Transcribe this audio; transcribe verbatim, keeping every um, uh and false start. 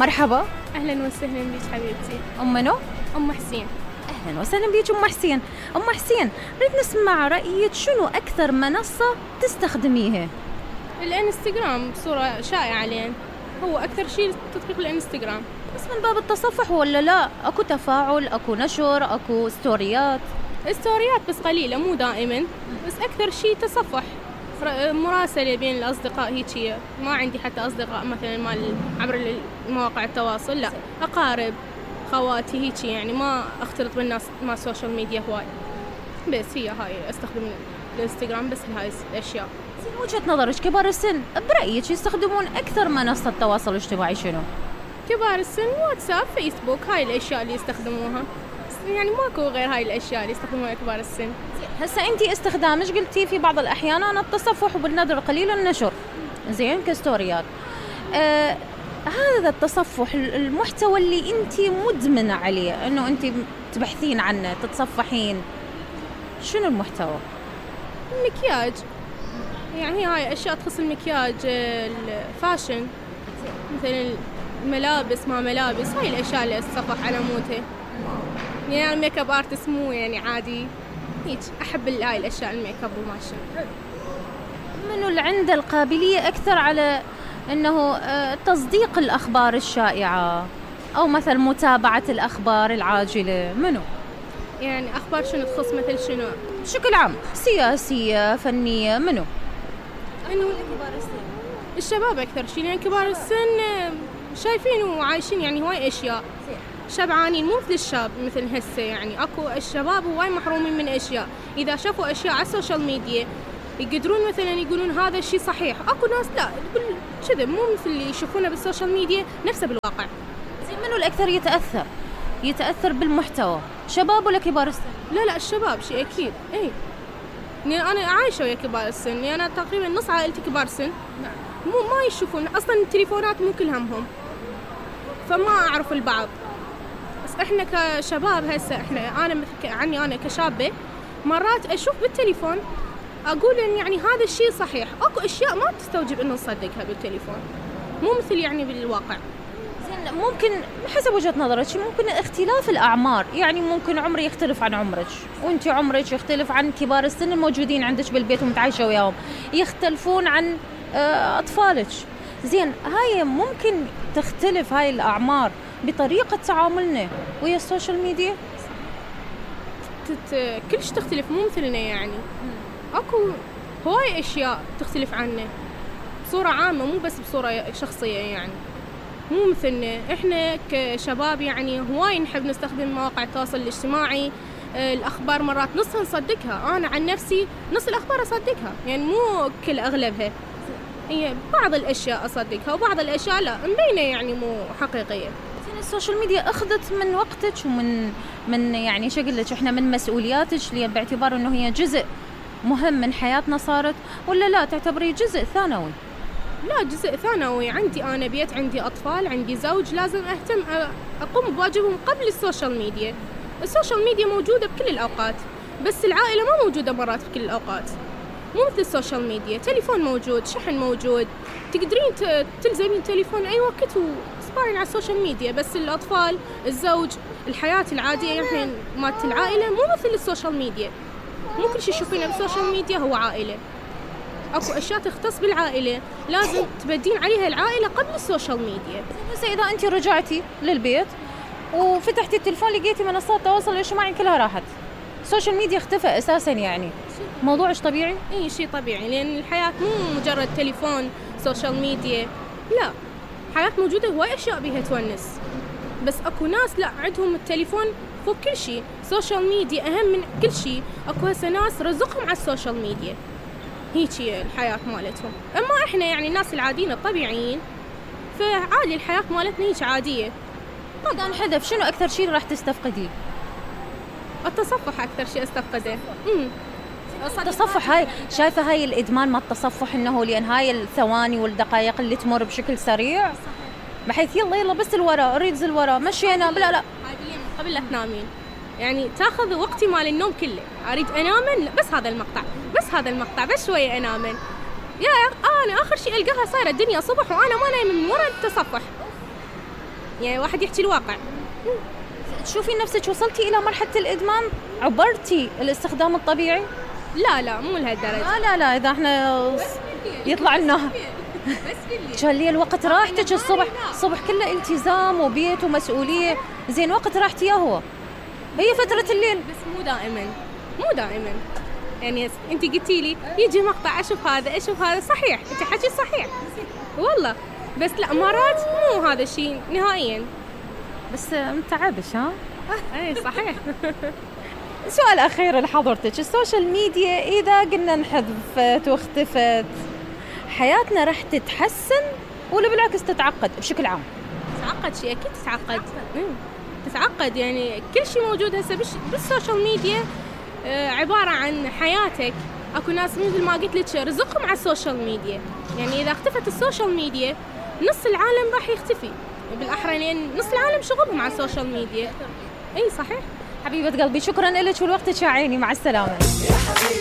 مرحبا. أهلا وسهلا بك حبيبتي. أم منو؟ أم حسين. أهلا وسهلا بك أم حسين. أم حسين نريد نسمع رأيك، شنو أكثر منصة تستخدميها؟ الانستغرام بصورة شائعة الآن، هو أكثر شيء تطبيق الانستغرام. بس من باب التصفح ولا لا؟ أكو تفاعل، أكو نشر، أكو ستوريات؟ ستوريات بس قليلة، مو دائما، بس أكثر شيء تصفح، مراسلة بين الأصدقاء هيك. ما عندي حتى أصدقاء مثلا مال عبر مواقع التواصل، لا أقارب خواتي هيك، يعني ما أختلط بالناس مع السوشيال ميديا هواي. بس هي هاي أستخدم الانستغرام بس لهاي الأشياء. زين وجهة نظرك كبار السن برأيك يستخدمون أكثر منصة تواصل اجتماعي شنو؟ كبار السن واتساب، فيسبوك، هاي الأشياء اللي يستخدموها، يعني ماكو غير هاي الأشياء اللي يستخدموها كبار السن. هسا أنتي استخدامش قلتي في بعض الأحيان أنا التصفح وبالنادر القليل النشر، زين كستوريات. آه هذا التصفح المحتوى اللي أنتي مدمنة عليه، إنه أنتي تبحثين عنه تتصفحين، شنو المحتوى؟ المكياج، يعني هاي أشياء تخص المكياج، الفاشن، مثلا الملابس، ما ملابس، هاي الأشياء اللي أتصفح على مودها. يعني الميك اب ارتست مو يعني عادي هيك، أحب هاي الأشياء الميك اب وماشي. منو اللي عنده القابلية أكثر على إنه تصديق الأخبار الشائعة أو مثل متابعة الأخبار العاجلة؟ منو؟ يعني أخبار شنو تخص مثل شنو؟ بشكل عام، سياسية، فنية، منو؟ إنه كبار السن، الشباب أكثر شيء، لأن كبار السن شايفين وعايشين يعني هواي أشياء، شبعانين، مو مثل الشاب مثل هسه. يعني أكو الشباب هواي محرومين من أشياء، إذا شافوا أشياء على السوشيال ميديا يقدرون مثلا يقولون هذا الشيء صحيح. أكو ناس لا كذا، مو مثل اللي يشوفونه بالسوشيال ميديا نفسه بالواقع. زين منو الأكثر يتأثر يتأثر بالمحتوى، شباب ولا كبار السن؟ لا لا الشباب شيء أكيد. إيه يعني أنا عايشة ويا كبار السن، يعني أنا تقريبا نص عائلتي كبار سن، مو ما يشوفون أصلا التليفونات، مو كل همهم، فما أعرف البعض. بس إحنا كشباب هسه، إحنا أنا عني أنا كشابة مرات أشوف بالتليفون أقول إن يعني هذا الشيء صحيح. أكو أشياء ما تستوجب إنه نصدقها بالتليفون، مو مثل يعني بالواقع. زين ممكن حسب وجهة نظرك، ممكن اختلاف الأعمار، يعني ممكن عمري يختلف عن عمرك، وأنت عمرك يختلف عن كبار السن الموجودين عندك بالبيت ومتعايشة وياهم، يختلفون عن أطفالك. زين هاي ممكن تختلف هاي الأعمار بطريقة تعاملنا ويا السوشيال ميديا؟ تت... كلش تختلف، مو مثلنا يعني. أكو هواي أشياء تختلف عنا بصورة عامة، مو بس بصورة شخصية. يعني مو مثلنا إحنا كشباب، يعني هواي نحب نستخدم مواقع التواصل الاجتماعي. الأخبار مرات نصها نصدقها، أنا عن نفسي نص الأخبار أصدقها، يعني مو كل أغلبها، هي بعض الأشياء أصدقها وبعض الأشياء لا، مبينة يعني مو حقيقية. السوشيال ميديا أخذت من وقتك ومن من يعني شو أقول لك، إحنا من مسؤولياتك اللي باعتبار إنه هي جزء مهم من حياتنا صارت، ولا لا تعتبري جزء ثانوي؟ لا جزء ثانوي. عندي أنا بيت، عندي أطفال، عندي زوج، لازم أهتم أقوم بواجبهم قبل السوشيال ميديا. السوشيال ميديا موجودة بكل الأوقات، بس العائلة ما موجودة مرات بكل الأوقات، مو مثل السوشيال ميديا. تليفون موجود، شحن موجود، تقدرين تلزمين التليفون أي وقت وتصبحين على السوشيال ميديا. بس الأطفال، الزوج، الحياة العادية يعني مالت العائلة مو مثل السوشيال ميديا. مو كل شيء تشوفينه بالسوشيال ميديا هو عائلة. أكو أشياء تختص بالعائلة لازم تبدين عليها العائلة قبل السوشيال ميديا. بس إذا أنت رجعتي للبيت وفتحتي التلفون لقيتي منصات التواصل الاجتماعي كلها راحت، السوشيال ميديا اختفى أساساً، يعني موضوعش طبيعي؟ إيه شيء طبيعي، لأن الحياة مو مجرد تليفون سوشيال ميديا، لا، حياة موجودة هواي أشياء بيها تونس. بس أكو ناس لا، عندهم التليفون فوق كل شيء، سوشيال ميديا أهم من كل شيء. أكو هسه ناس رزقهم على السوشيال ميديا، هيجي الحياة مالتهم. أما إحنا يعني الناس العاديين الطبيعيين فعادي الحياة مالتنا هيك عادية. طبعاً حذف، شنو أكثر شيء راح تستفقديه؟ التصفح أكثر شيء أستفقده. امم التصفح، هاي شايفة هاي الإدمان ما التصفح، إنه لأن هاي الثواني والدقائق اللي تمر بشكل سريع، بحيث يلا يلا بس الورا ريدز الورا مشينا بلا لا عاديا قبل لا تنامين، يعني تاخذ وقتي مال النوم كله، أريد أنام بس هذا المقطع بس هذا المقطع بس شوية أنام. يا أنا آخر شيء ألقاها صايرة الدنيا صبح وأنا ما نايم من وراء التصفح. يعني واحد يحكي الواقع. تشوفين نفسك وصلتي إلى مرحلة الإدمان؟ عبرتي الاستخدام الطبيعي؟ لا لا مو لهالدرجة. لا لا لا إذا احنا يطلع لنا بس جالي الوقت راحتك الصبح، الصبح كله التزام وبيت ومسؤولية، زين وقت راحتي يا هو هي فترة الليل. بس مو دائما مو دائما يعني انت قلتي لي يجي مقطع اشوف هذا اشوف هذا، صحيح انت حكي صحيح والله، بس لا مرات مو هذا الشيء نهائيا. بس متعبش ها؟ اي صحيح. سؤال أخير لحضرتك، السوشيال ميديا إذا قلنا انحذفت واختفت حياتنا راح تتحسن ولا بالعكس تتعقد بشكل عام؟ تتعقد شيء أكيد تتعقد. تتعقد يعني كل شيء موجود هسه بالسوشيال ميديا آه عبارة عن حياتك. أكو ناس مثل ما قلت لك رزقهم على السوشيال ميديا، يعني إذا اختفت السوشيال ميديا نص العالم راح يختفي بالأحرى، لأن نص العالم شغلهم على السوشيال ميديا. أي صحيح. حبيبة قلبي شكرا لك ولوقتك يا عيني، مع السلامة.